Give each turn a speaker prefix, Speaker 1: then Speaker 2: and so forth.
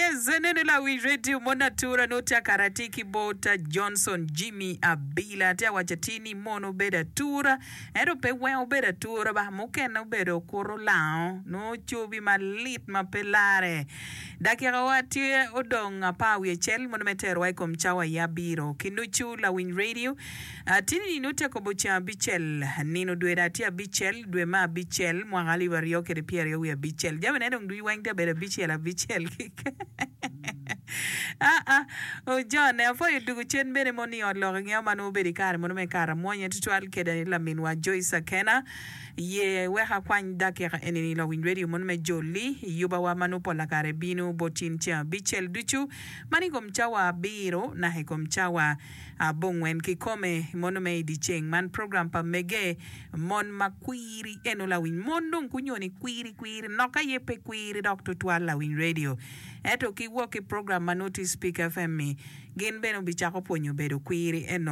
Speaker 1: Yes, enene lawiny radio mon atura nongo tye akara atir ki bot Johnson Jimmy Abila tye awaco atir ni mon obedo atura ento pe weng obedo atura ba mukene obedo okuto lango nongo cobi malit ma pe lare. Dakika wa tye odong apar wiye acel mono me terowa i kom cawa ya abiro ki nucu lawiny radio Atini nongo tye akobo ceng abicel, nino dwe dong tye abicel, dwe me abicel, mwaka alip aryo kede pyeraryo wiye abicel. Jamine dong ducu weng tye abedo abicel abicel keken. Aa, ojone, apwoyo dugu cen bene mono i ot lok ingeyo ma nongo obedo i kare mono me kare amwonya tutwal kede laminwa Joyce Akena. Ye wek akwany dakika eni-ni lawiny radio mono me joli i yubawa ma nongo pola kare bino bot in ceng abicel ducu, man i kom cawa abiro naka i kom cawa Abongwen kikome mono me i dyeceng man program pa mege mon ma kwiri eno lawiny mon dong kunyoni kwiri kwiri nok aye pe kwiri dok tutwal lawiny radio ento ki wok ki program ma nongo tye speak FM mi gin bene obicako pwonyo bedo kwiri eno.